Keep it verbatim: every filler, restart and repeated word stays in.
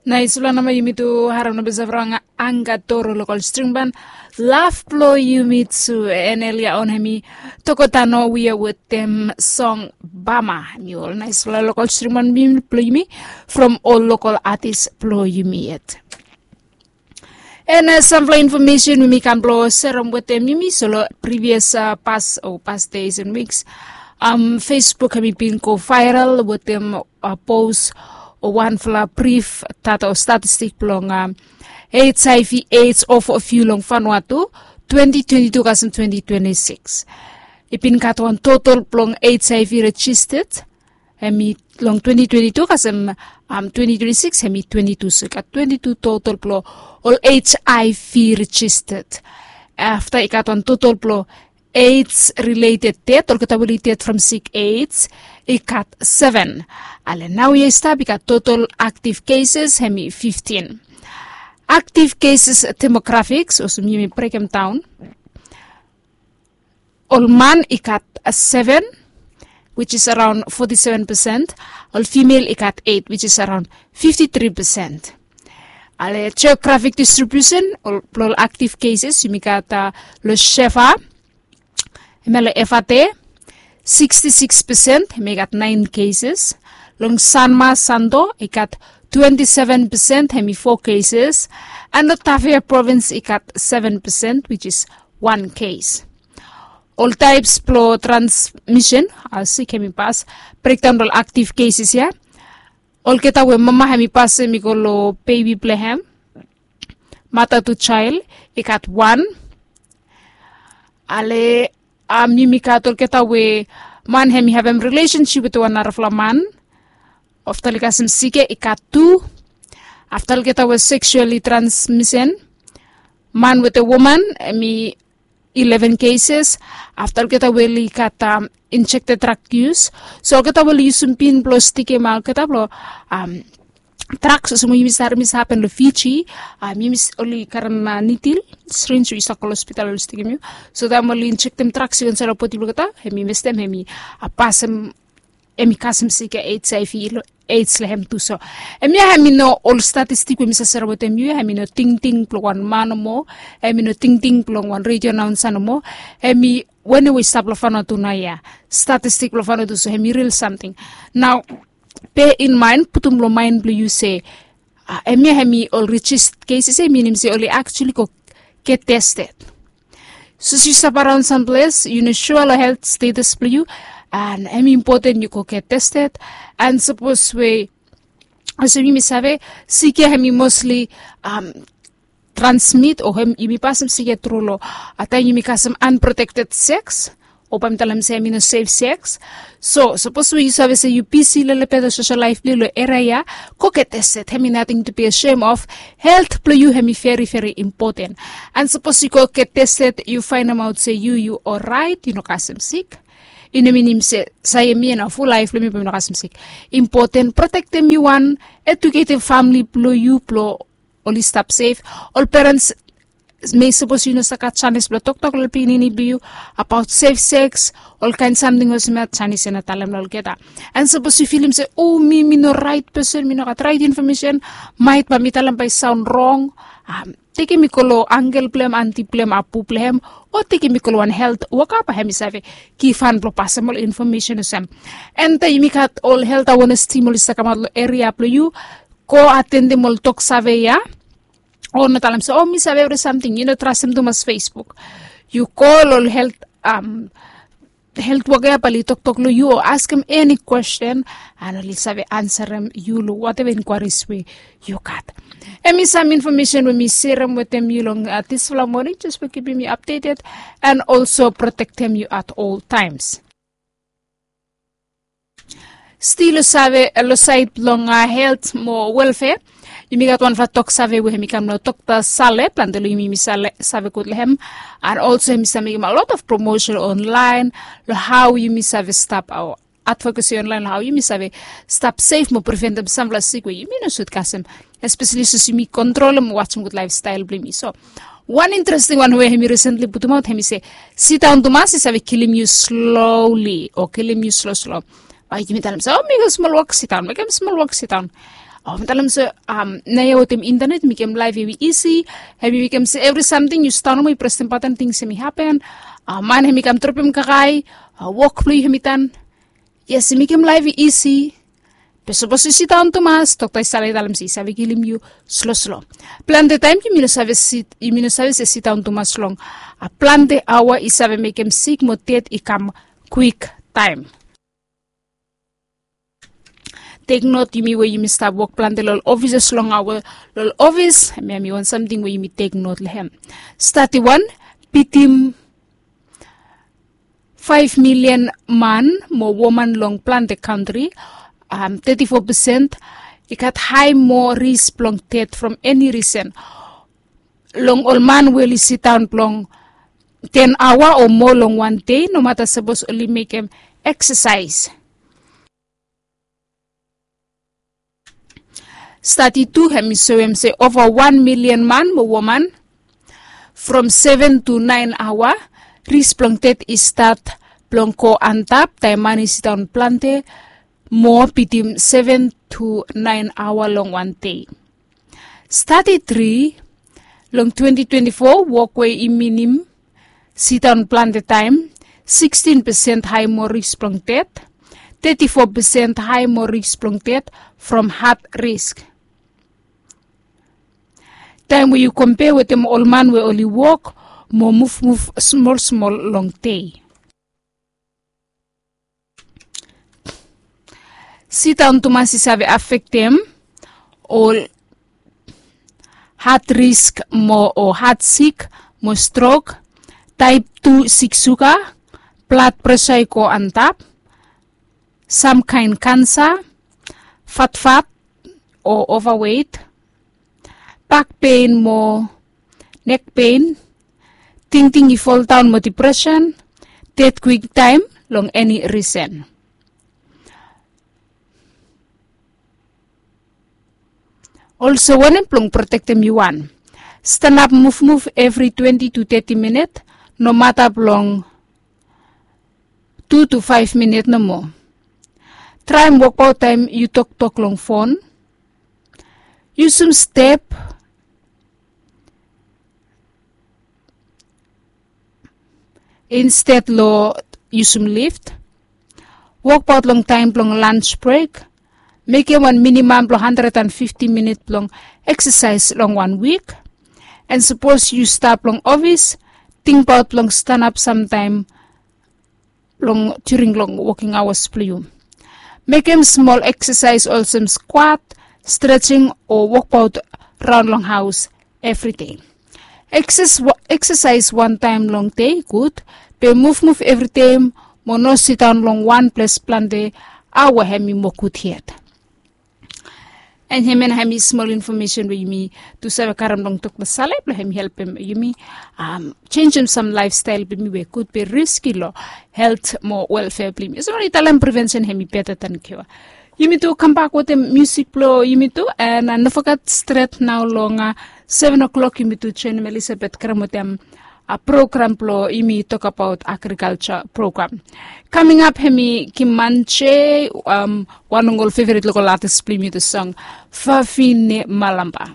Naisfala namba yumi tu harem namba sefrong angga toro lokol stringban. Laf blo yumi tu en elia on hemi tokotano wia wetem song bama. Hemi ol naisfala lokol stringban blo yumi from ol lokol atis blo yumi yet. En uh, sampla infomesen we mi kam blo serem wetem yumi. So lo previous uh, pas o pas days and weeks, um, Facebook hemi bin go viral wetem uh, post o wanfala brif data o statistik blong um, HIV AIDS of a few long Vanuatu twenty twenty-two kasem twenty twenty-six. I bin gat wan total blong HIV registered hemi long twenty twenty-two kasem um, twenty twenty-six hemi twenty-two, so i gat twenty-two total blo ol HIV registered. Afta i gat wan total blo AIDS related death, olgeta we oli death from sick AIDS, i gat seven. Ale nau ia i stap i gat total active cases hemi fifteen. Active cases demographics olsem yumi brekem daon. Ol man i gat seven, which is around forty-seven percent. Ol female i gat eight, which is around fifty-three percent. Ale geographic distribution ol blo ol active cases yumi gat uh, lo Shefa, hemia lo Efate, sixty-six percent hemi gat nine cases. Long Sanma Santo i gat twenty-seven percent hemi four cases. And lo Tafea province i gat seven percent, which is one case. Ol types blo transmission, uh, sik hemi pas, breakdown blo ol active cases ia. Olgeta we mama hemi pas hemi go lo baby blo hem, mother to child, i gat wan. Ale um, yumi gat olgeta we man hemi havem relationship wetem wan narafala man, afta oli kasem sik ia i gat tu. Afta olgeta we sexually transmission, man wetem woman, hemi eleven cases. Afta olgeta we oli gat um, injected drug use, so olgeta we oli yusum pin blo stikim olgeta blo um, drugs olsem we yumi save, yumi save hapen lo Fiji. Um, yumi s- oli karem uh, needle, syringe we i save go lo hospital oli stikim yu. So taem oli injektem drugs i go insaed lo bodi blo olgeta, hemi mestem, hemi uh, pasem, hemi kasem sik ia HIV lo AIDS lo hem tu. So hemia hemi no ol statistik we mi save serem wetem yu ia, hemi no tingting blo wan man nomo, hemi no tingting blo wan radio announcer nomo. Hemi wanem we i stap lo Vanuatu naoia, statistik blo Vanuatu, so hemi ril samting. Nao, bear in mind, putum lo maen blo yu se uh, hemia hemi ol registered cases ia, minim se oli actually go get tested. Sapos yu stap araon samples yu no sua lo health status blo yu, and hemi impoten yu go get tested. And sapos we olsem yumi save, sik ia hemi mostly um, transmit o hem yumi pasem sik ia tru lo uh, taem yumi kasem unprotected sex, o bae mi talem se hemi no safe sex. So sapos we yu save se yu bisi lelebet lo social life blo yu lo eria ia, go get tested, hemi nating to be ashamed of. Health blo yu hemi very very impoten. And sapos yu go get tested yu faenemaot se yu, yu oraet, yu no kasem sik, i no minim se sae mi and ful laef blo mi bae mi no kasem sik. Impoten protektem yu wan, eduketem famili blo yu blo oli stap sef. Ol perens, mei sapos yu no save gat janis blo toktok lo pikinini blo yu abaot safe sex, olkaen samting olsem ia, janis ia na talem lo olgeta. And sapos yu filim se, o, mi, mi no raet pesen, mi no gat raet infomesen, maet bae mi talem bae i saon rong, um, tekem i go lo angkel blo hem, anti blo hem, apu blo hem, o tekem i go lo wan health woka bae hemi save givhan blo pasem ol infomesen olsem. And taem yumi gat ol health awareness team oli save kamaot lo eria blo yu, go atendem ol tok save ia. O no talem se, o, mi save evri samting, yu no trastem tumas Facebook. Yu go lo ol health, um, health woka ia bae oli toktok lo yu o askem eni kwesten, and oli save ansarem yu lo wateva inkwaeris we yu gat. Hemi sam infomesen we mi serem wetem yu long uh, disfala moning, jes blong kipim yu updated and also protektem yu at all times. Stil lo save, lo saed blong uh, health mo welfare, yumi gat wanfala tok save we hemi kam lo Dokta Sale, plante lo yumi yumi save gud lo hem. And also hemi save mekem a lot of promotion online lo hao yumi save stap, o advocacy online lo hao yumi save stap sef mo preventem samfala sik we yumi no sud kasem, espeseli sapos yumi kontrolem mo wajem gud laefstael blo yumi. So wan interesting wan we hemi risentli putumaot, hemi se, sidaon tumas i save kilim yu slowly o kilim yu sloslo. Bae yumi talem se, o, mekem smol wok, sidaon, mekem smol wok, sidaon. Talem se, naia wetem intanet mekem laef i isi. Hem i mekem se evri samting yu sidaon nomo i presem batan tings hem i hapen. Man hem i kam dropem kakae, wok blong yu hem i tan. Yes, i mekem laef i isi. Be sapos yu sidaon tumas, dokta i save talem se i save kilim yu sloslo. Plante taem yumi no save se sidaon tumas long plante aoa i save mekem sik mo ded i kam kwiktaem. Teknot yumi we yumi stap wok plante long ol ofises long aoa long ol ofis, hemia hem i wan samting we yumi teknot long hem. Stadi wan, bitim faef milian man mo woman long plante kantri, teti fo pesen i gat hae moa ris blong ded from eni risen. Long ol man we oli sidaon blong ten aoa o moa long wan dei, nomata sapos oli mekem eksasaes. Stadi tu hem i soem se ova wan milian man mo woman from seven tu naen aoa, ris blong ded i stat blong go antap taem man i sidaon plante moa bitim seven tu naen aoa long wan dei. Stadi tri, long twenti twenti fo wok we i minim sidaon plante taem, sikstin pesen hae moa ris blong ded, teti fo pesen hae moa ris blong ded from hat risk. Taem we yu kompea wetem ol man we oli wok mo muvmuv smolsmol long dei. Sidaon tumas i save afektem ol hat risk mo o hat sik mo strok, taep tu sik suga, blad presa i go antap, samkaen kansa, fatfat o ovawet, bakpen mo nekpen, tingting i foldaon mo dipresen, ded kwiktaem long eni risen. Olsem wanem blong protektem yu wan? Stanap muvmuv evri twenti tu teti minit, nomata blong tu tu faef minit nomo. Traem wokbaot taem yu toktok long fon. Yusum step insted long yusum lift. Wokbaot long taem blong lans brek. Mekem wan minimam blong handred an fifti minit blong eksasaes long wan wik. An sapos yu stap long ofis, tingbaot blong stanap samtaem long during long woking aoas blong yu. Mekem smol eksasaes olsem skwat, strejing o wokbaot raon long haos evri dei. Eksasaes wantaem long dei gud, be muvmuv evri dei mo no sidaon long wan ples plante aoa, hem i moa gud yet. An hemia na hem i smol infomesen we yumi tu save karem long Dokta Sale blong hem i helpem yumi jenisim sam laefstael blong yumi we gud be riski long helt mo welfea blong yumi. Olsem oli talem, prevensen hem i beta dan kiua. Yumi tu kambak wetem musik blong yumi tu, an no foget stret nao long seven o'clock yumi tu joenem Elizabeth Graham wetem program blong yumi tokbaot agrikalja program. Kaming ap hem i Kimanje, wan long ol feveret lokol atis blong yumi, the song Fafine Malamba.